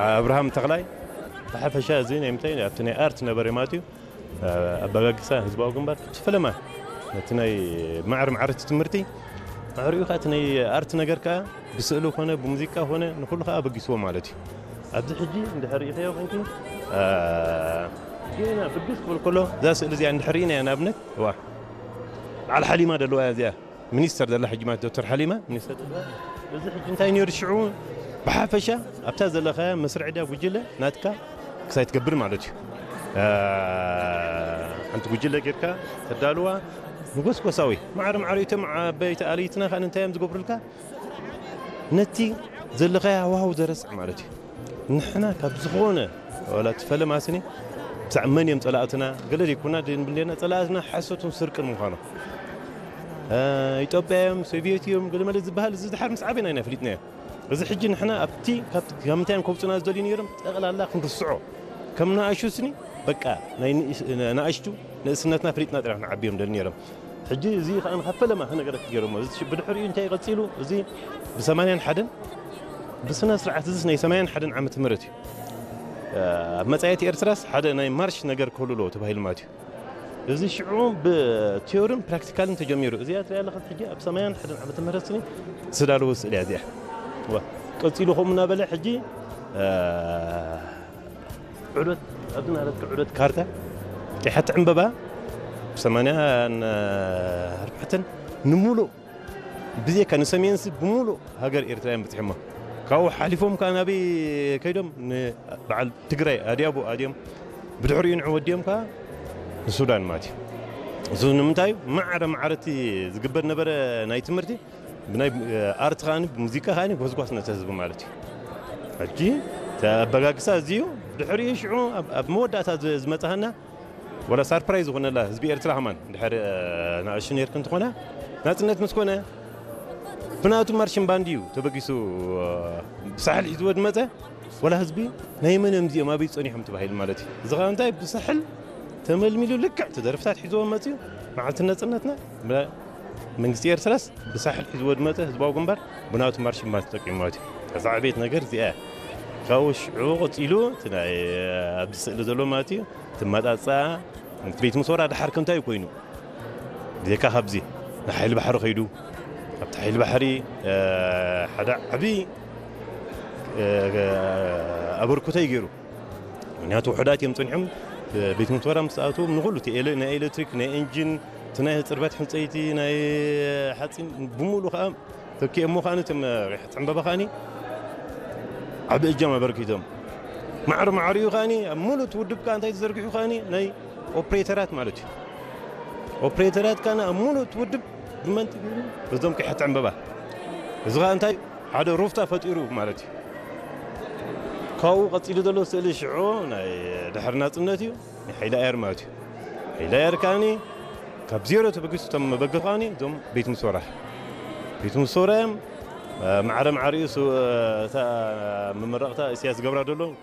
ኣብርሃም ተኽላይ። ብሓፈሻ እዚ ናይ ምንታይ ኣብቲ ናይ ኣርት ነበረ ማለት እዩ። ኣበጋግሳ ህዝባዊ ግንባር እቲ ፈለማ ነቲ ናይ ማዕረ ማዕረ እቲ ትምህርቲ ማዕሪኡ ከዓ እቲ ናይ ኣርት ነገር ከዓ ብስእሊ ኮነ ብሙዚቃ ኮነ ንኩሉ ከዓ ኣበጊስዎ ማለት እዩ። ኣብዚ ሕጂ እንድሕር ርኢኸዮ ኮንኪ ጌና ብግስ ክብል ከሎ እዛ ስእሊ እዚኣ እንድሕር ርኢናያ ንኣብነት ዋ በዓል ሓሊማ ዘለዋ እያ እዚኣ ሚኒስተር ዘላ ሕጂ ማለት ዶክተር ሓሊማ ሚኒስተር። እዚ ሕጂ እንታይ ነይሩ ሽዑ ብሓፈሻ ኣብታ ዘለኻያ መስርዕ ድያ ጉጅለ ናትካ ክሳይ ትገብር ማለት እዩ። ሓንቲ ጉጅለ ጌርካ ተዳልዋ ንጎስጎሳዊ ማዕረ ማዕረ እቶም ዓበይቲ ኣለይትና ከ እንታይ እዮም ዝገብሩልካ ነቲ ዘለኻያ ሃዋህው ዘረስዕ ማለት እዩ። ንሕና ካብ ዝኾነ ዋላ እቲ ፈለማ ስኒ ብዛዕባ መን እዮም ጸላእትና ገለ ዘይኮና ድንብሌና ጸላእትና ሓሶትን ስርቅን ምዃኖም ኢትዮጵያ እዮም ሶቪየት እዮም ገለመለ ዝበሃል እዚ ድሓር ምስ ዓበና ኢና ፍሊጥናዮ። እዚ ሕጂ ንሕና ኣብቲ ካብ ምንታይ እዮም ከውፅና ዝደልዩ ነይሮም ጠቕላላ ክንርስዖ ከም ንኣሹ ስኒ በቃ ናይ ንእስ- ንኣሽቱ ንእስነትና ፍሊጥና ጥራሕ ንዓብዮም ደሊ ነይሮም። ሕጂ እዚ ከዓ ንካብ ፈለማ ክነገረክ ገይሮሞ እዚ ብድሕሪኡ እንታይ ቀፂሉ እዚ ብሰማንያን ሓደን ብስነ ስርዓት እዚ ናይ ሰማንያን ሓደን ዓመት ምህረት እዩ። ኣብ መፃየት ኤርትራስ ሓደ ናይ ማርሽ ነገር ክህሉ ኣለዎ ተባሂሉ ማለት እዩ። እዚ ሽዑ ብቲዮርን ፕራክቲካልን ተጀሚሩ እዚኣ ትሪኣ ኣለኻ ሕጂ ኣብ ሰማንያን ሓደን ዓመተ ምህረት ስኒ ዝተዳለወ ስእሊ እያ እዚኣ። ዋ፣ ቀፂሉ ከምኡ እናበለ ሕጂ ዑደት ኣብዚ ናለትካ ዑደት ካርታ ቂሓት ዕምበባ ብሰማንያን ኣርባዕተን ንምሉእ ብዜካ ንሰሜንሲ ብምሉእ ሃገር ኤርትራ እዮም በፂሖሞ። ካብኡ ሓሊፎም ከዓ ናበይ ከይዶም ንበዓል ትግራይ ኣድያቦ ኣድዮም ብድሕሪኡ ንዑ ወዲኦም ከዓ ንሱዳን ማለት እዩ። እዚ ንምንታይ እዩ? ማዕረ ማዕረ እቲ ዝግበር ነበረ ናይ ትምህርቲ ብናይ ኣርት ከዓኒ ብሙዚቃ ከዓኒ ጎስጓስ ነቲ ህዝቢ ማለት እዩ። ሕጂ እቲ ኣበጋግሳ እዚ እዩ። ድሕሪኡ ሽዑ ኣብ- ኣብ መወዳእታ ዝ- ዝመፅሃና ወላ ሳርፕራይዝ ዝኾነላ ህዝቢ ኤርትራ ከማን ድሕሪ ንኣሽቱ ነርክ እንትኾና ናፅነት ምስ ኮነ ብናቱ ማርሽን ባንድ እዩ ተበጊሱ ብሳሕል ሒዝዎ ዝመፀ ወላ ህዝቢ ናይ መን እዮም እዚኦም ኣበይ ፀኒሖም ተባሂሉ ማለት እዩ። እዚ ከዓ እንታይ ብሳሕል ተመልሚሉ ልክዕ እቲ ደርፍታት ሒዝዎ መፅዩ መዓልቲ ነፅነትና መንግስቲ ኤርትራስ ብሳሕል ሒዝዎ ዝመፀ ህዝባዊ ግንባር ብናቱ ማርሽን ባንድ ተጠቂሙ ማለት እዩ። እዛ ዕቤት ነገር እዚኣ እያ። ካብኡ ሽዑ ቀፂሉ እቲ ናይ ኣብዚ ስእሊ ዘሎ ማለት እዩ ትመጣፃ እቲ ቤት መስወራ ድሓር ከምታይ ኮይኑ ብዘይካ ካብዚ ንሓይሊ ባሕሪ ከይዱ ኣብቲ ሓይሊ ባሕሪ ሓደ ዓብዪ ኣበርክቶ እዩ ገይሩ። ምክንያቱ ውሑዳት እዮም ፀኒሖም ቤት መስወራ ምስ ኣተዎም ንኩሉ ናይ ኤሌክትሪክ ናይ ኢንጂን እቲ ናይ ፅርበት ሕንፀይቲ ናይ ሓፂን ብምሉ ከዓ ተኪኦሞ ከዓኒ እቶም ሪሕት ዕምበባ ከዓኒ ዓቢ እጃም ኣበርኪቶም። ማዕረ ማዕሪኡ ከዓኒ ኣብ ሙሉእ እቲ ውድብ ከዓ እንታይ ተዘርጊሑ ከዓኒ ናይ ኦፕሬተራት ማለት እዩ። ኦፕሬተራት ከዓኒ ኣብ ሙሉእ እቲ ውድብ ብመንጢ ገይሩ በዞም ቂሐት ዕምበባ እዚ ከዓ እንታይ ሓደ ሩፍታ ፈጢሩ ማለት እዩ። ካብኡ ቀፂሉ ዘሎ ስእሊ ሽዑ ናይ ድሕሪ ናፅነት እዩ። ናይ ሓይሊ ኣየር ማለት እዩ። ሓይሊ ኣየር ከዓኒ ካብ ዜሮ ተበጊሱ እቶም መበገሱ ከዓኒ እዞም ቤት ምስወራ ቤት ምስወራ እዮም። ማዕረ ማዕሪኡ እታ መመረቕታ እስያስ ገብራ ደሎ